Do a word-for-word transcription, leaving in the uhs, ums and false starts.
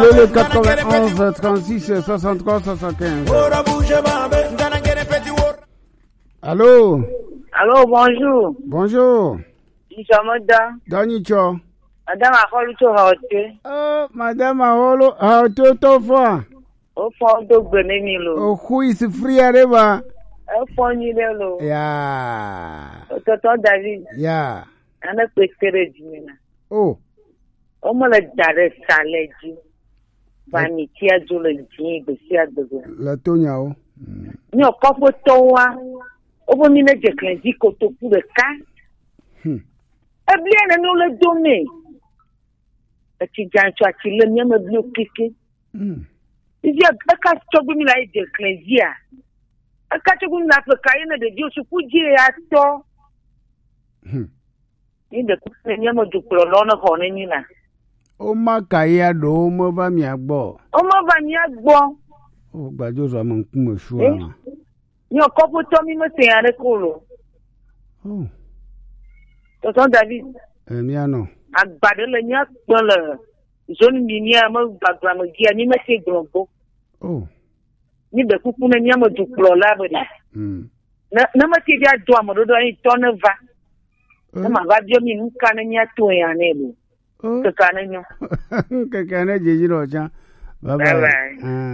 Le quatre-vingt-onze trente-six soixante-trois soixante-quinze. Allô? Allô, bonjour. Bonjour. Ŋtsɔ meda. Dɔ nyitsɔ. Madame Ahɔlu tso Haote. Oh, Madame Ahɔlu, Haote tɔ fɔa. O fɔ do gbe ne mi lo. O who is free are ba. E fɔ nyi ɖe lo. Ya. Tɔtɔ David. Ya. Ane kpe te ɖe dzi me na. Oh. Womele da ɖe sa le dzi. Ba mi tia dzo le dzi gbe sia gbe gbe. Le to nyawo. Mm. Nyɔ kɔƒetɔwoa, wobe mi ne dze klẽ dzi kotoku ɖeka. Hmm. Eblia nene le do me. Etsi dza tsɔ atsi le mia me bli keke. Hmm. Izi eka tsɔgbe mi la yi dze klẽ dzia. Eka tsɔgbe mi la ƒe ka ye ne ɖeviwo suku dzi ya tɔ. Hmm. Ni ɖe kuku ne mía me dukplɔlawo ne xɔ ne mí la. Woma ka ya ɖo womeva mía gbɔ? Womeva mía gbɔ. O gbadzo zɔ ame ŋkume sua Eh? Ma. Nyɔ kɔƒetɔ mi me se ya ɖe ko lo. Oh. Tɔtɔ David. E mía nɔ. Agba ɖe le mía kpe le zone mi mía me gbagba me dzia mi me se gblɔ gbɔ. Oh. Ni ɖe kuku ne mía me dukplɔla be ɖe. Hmm. Ne, ne mete via do ame ɖoɖo anyi tɔ ne va. Ne ma va biɔ mi nu ka ne mía to ya ne lo. Oh. Keke ne nyɔ. Keke ne dzedzi ɖo tsã. Bye bye. Bye bye. Ah.